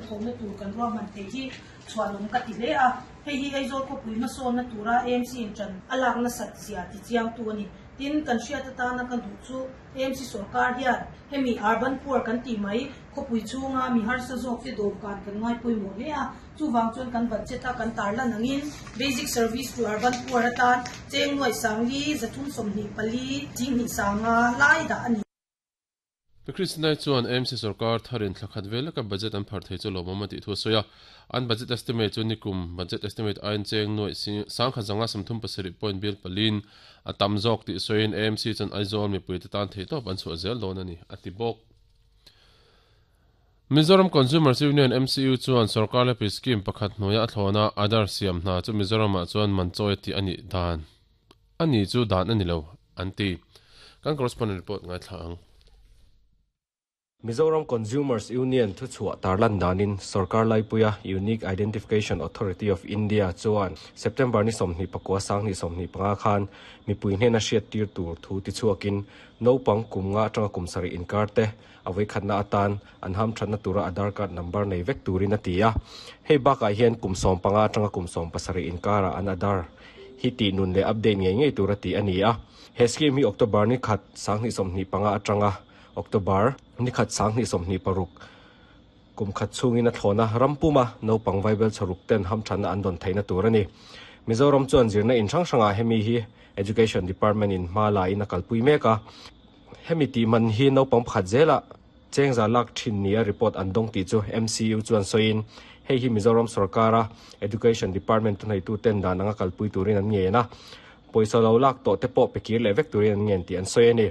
hnathawhna tur kan ruahman thei hi chhuanawm ka ti hle a. Hei hi Aizawl khawpui hmasawnna tura AMC in ṭan a lak nasat zia tichiangtu a ni. Tin, kan hriat atana ka duh chu AMC sorkar hian hemi urban poor kan tih mai khawpui chhunga mi harsa zawkte dawmkan kan ngai pawimawh hle a. Chuvang chuan kan budget a kan tarlan angin Basic Service to Urban Poor atan cheng nuaih sangli 324 chinghnih sanga lai dah a ni. Pi Christinai chuan AMC sorkar tharin thla khat vel leka budget an phar thei chu lawmawm a tih thu a sawi a. An budget estimate chu nikum budget estimate aiin cheng nuaih sangkhat zanga 37 point bil paliin a tam zawk tih sawiin AMC chuan Aizawl mipuite tan theihtawp an chhuah zel dawn a ni, a ti bawk. Mizoram Consumers Union, MCU, chuan sorkar lepui scheme pakhat hnuaia a thlawna Aadhaar siam hna chu Mizoramah chuan man chawi a tih a nih dan a ni chu dan a ni lo, an ti. Kan correspondent report ngaithla ang. Mizoram Consumers Union thuchhuah tarlan danin sorkar laipuia Unique Identification Authority of India chuan September ni 29 2025 khan mipui hnena hriattir tur thu tichhuakin naupang kum nga atanga kum sarih inkar te a vawikhatna atan an hamthatna tura Aadhaar card number nei vek turin a ti a. Hei bakah hian kum 15 atanga kum 17 inkarah an Aadhaar hi tih nun leh update ngei ngei tura tih a ni a. He scheme hi October ni khat 2025 atanga October ni khat 2026 kum khat chhungin a thlawn a, ram puma naupang vaibel chhawruk ten hamthatna an dawn theihna tur a ni. Mizoram chuan zirna in hrang hrangah hemi hi Education Department in hma la in a kalpui mek a. Hemi tih man hi naupang pakhat zelah chengza lak thin nia report an dawng tih chu MCU chuan sawiin hei hi Mizoram sorkara Education Department thuneihtu ten dan anga kalpui turin an ngen a, pawisa lo lak tawh te pawh pe kir leh vek turin an ngen tih an sawi a ni.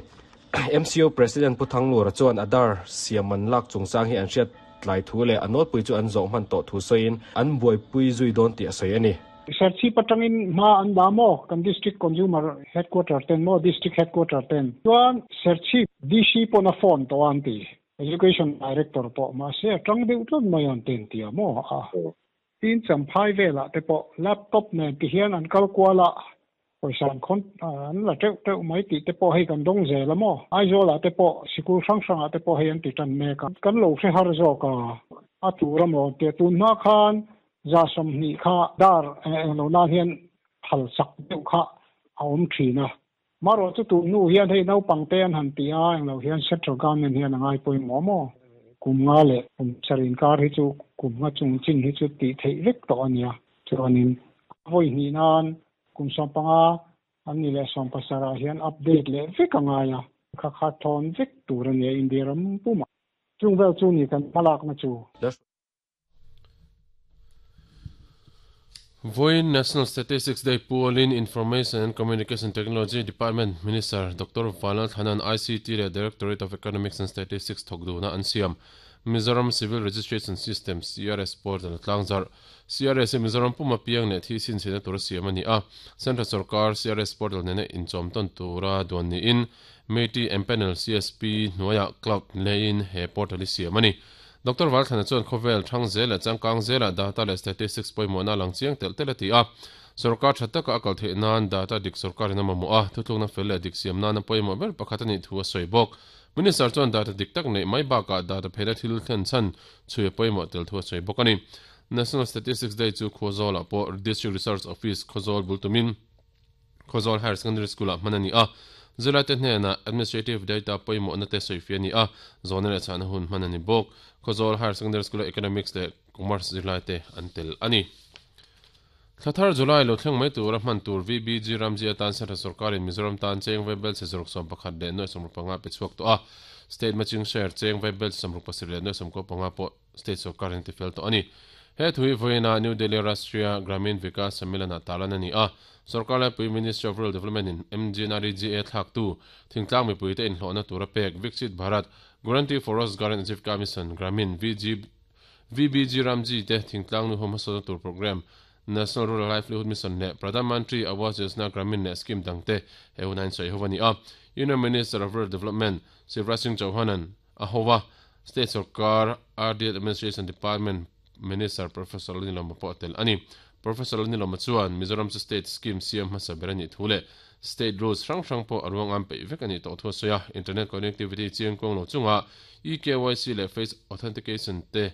MCU President Pu Thanglura chuan Aadhaar siam man lak chungchang hi an hriat tlai thu leh a nawlpui chu an zawh hman tawh thu sawiin an buaipui zui dawn tih a sawi a ni. Serchhip atangin hma an la maw? Kan District Consumer Headquarter ten maw? District Headquarter ten. Chuan Serchhip DC pawn a phone tawh a an ti. Education Director pawh mahse a tang deuh tlat mai an ti an ti a maw? A tin Champhai velah te pawh laptop nen ti hian an kal kual a, pawisa an khawn an la teuh teuh mai tih te pawh hei kan dawng zel a maw? Aizawl ah te pawh sikul hrang hrang ah te pawh hei an ti tan mek a. Kan lo hre har zawk a, a tur a maw? Tia tun hma khan 20% kha dar eng lo nan hian phal sak deuh kha a awm thin a. Marawh chu tun hnu hian hei naupang te an han ti a, eng lo hian central government hian a ngai pawimawh maw? Kum nga leh kum sarih inkar hi chu kum nga chung chin hi chu tih theih vek tawh a nia. Chuanin a vawi hnih nan kum 15 an ni leh 17 ah hian update leh vek a ngai a, kha kha thawn vek tur a nia India ram pumah. Chung vel chu ni kan hmalakna chu. Vawiin National Statistics Day pualin Information and Communication Technology Department Minister Doctor Vanlal Thana'n ICT leh Directorate of Economics and Statistics thawk duhna an siam. Mizoram Civil Registration System, CRS, portal a tlangzarh. CRS hi Mizoram puma piang leh thi chhinchhiahna tura siam a ni a. Central sorkar CRS portal nena inchawmtawn tura duan niin Meiti Empanel CSP hnuaiah cloud leiin he portal hi siam a ni. Doctor Valthlana chuan khawvel thang zel leh changkang zelah data leh statistics pawimawhna a lang chiang telh telh a ti a. Sorkar tha taka a kal theih nan data dik sorkarin a mamawh a, thutlukna fel leh dik siam nana pawimawh ber pakhat a nih thu a sawi bawk. Minister chuan data dik tak neih mai bakah data pheina thil thlen chhan chhui a pawimawh tel thu a sawi bawk a ni. National Statistics Day chu Khawzawlah pawh District Research Office Khawzawl bul tumin Khawzawl Higher Secondary School-ah hman a ni a, zirlaite hnenah Administrative Data pawimawhna te sawifiah a ni a, zawhna leh chhahna hun hman a ni bawk. Khawzawl Higher Secondary School-a Economics leh Commerce zirlaite an tel a ni. Thla thar July lo thleng mai tura hman tur VBG Ramji atan Central Sorkarin Mizoram tan cheng vaibel chhe zaruk 11 leh nuai 65 pe chhuak tawh a, State Matching Share cheng vaibel chhe 67 leh nuai 95 pawh State sorkarin a tifel tawh a ni. He thu hi vawiina New Delhi Rashtriya Gramin Vikas Sammilan-ah tarlan a ni a. Sorkar laipui Ministry of Rural Development in MGNREGA thlaktu thingtlang mipuite inhlawhna tura pek Viksit Bharat Guarantee for Rozgar and Ajeevika Mission Gramin VG VBG Ramji te thingtlang nuho hmasawnna tur programme National Rural Livelihood Mission leh Pradhan Mantri Awas Yojana Gramin leh scheme dangte he huna insawi ho a ni a. Union Minister of Rural Development Shivraj Singh Chauhan-a'n A ho a, State sorkar RD Administration Department Minister Professor Lalnilawma pawh a tel a ni. Professor Lalnilawma chuan Mizoram chu State Scheme siam hmasa ber a nih thu leh State Rules hrang hrang pawh a ruang am peih vek a nih tawh thu a sawi a. Internet connectivity chiangkuang lo chungah eKYC leh Face Authentication te.